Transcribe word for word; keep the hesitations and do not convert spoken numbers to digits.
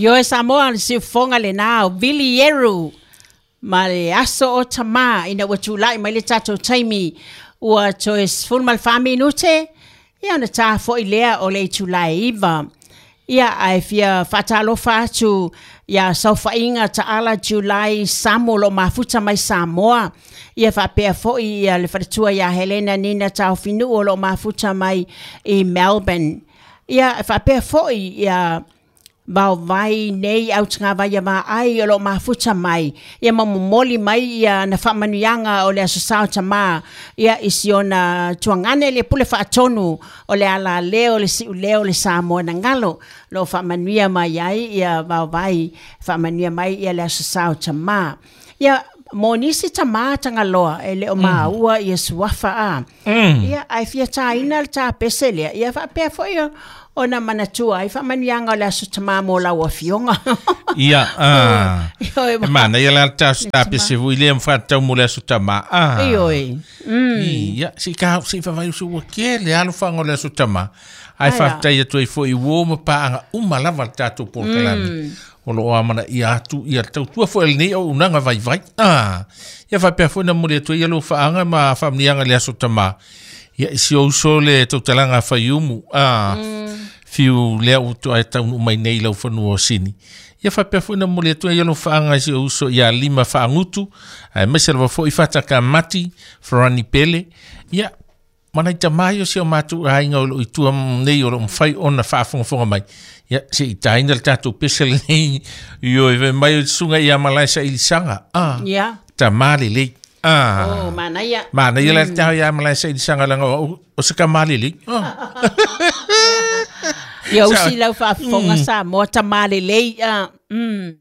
Ioe Samoa le siufofoga lenā o Vili Ieru ma le aso o tamā ina ua tula'i mai le tatou taimi ua toe sefulu ma le fa minute ia ona tā fo'i lea o le itulā e iva. Ia ae fia faatalofa atu iā saofa'iga Taala Julai Samo o lo'o mafuta mai Samoa. Ia faapea fo'i ia le faletua iā Helena Nina Taofinu'u o lo'o mafuta mai i Melbourne. Ia e faapea fo'i ia vaovai nei autagavai ia vaai o lo'o mafuta mai ia ma momoli mai ia na faamanuiaga o le aso sa o tamā ia i si ona tuagane le pule faatonu o le alaleo le si'uleo le Samoa na galo lo'o faamanuia mai ai ia vaovai faamanuia mai ia le aso sa o tamā. Ia mo nisi tamā tagaloa e le o maua ia suafa a ia ae fia tāina le tapese lea ia faapea fo'i ona manatua ai faamanuiaga o le aso tamā mo lau afioga. Ia, ah. E manaia la le tapese foi lea ma faatatau mo le aso tamā. Ah. Ioe. Mm. Ia, se i ka se i faavai usu ua kele alofaga o le aso tamā. Ae faafetai atu ai foi i uō ma paaga uma lava le tatou polokalame. O loo amanaia atu ia le tautua foi a lenei auaunaga vaivai. Ah. Ia faapea foi na momoli atu ai ia lou faaga ma faamanuiaga i le aso tamā. Ia i si ou uso le tautalaga a Faiumu. Ah. Fiu lea ua toae taunuu mai nei i lau fanua o Sini. Ia faapea foi na momoli atu ai ia lou faaga i si ou uso ia Lima Faagutu, aemaise lava foi Fatakamati, Farani Pele. Ia, ma nai tamā ia o si o matou aiga o loo i tua nei o loo mafai ona faafogafoga mai. Ia, se i taina le tatou pese lenei ioe fai mai o le susuga ia Malae Sailisaga. Ah, Ia. tamā lelei. Ah. Oh, manaia. Manaia la le taho ia Malae Sailisaga leaga o au o se tamā lelei. Ah. Ia usi lau faafofoga Samoa tamā lelei. Ah. Mm.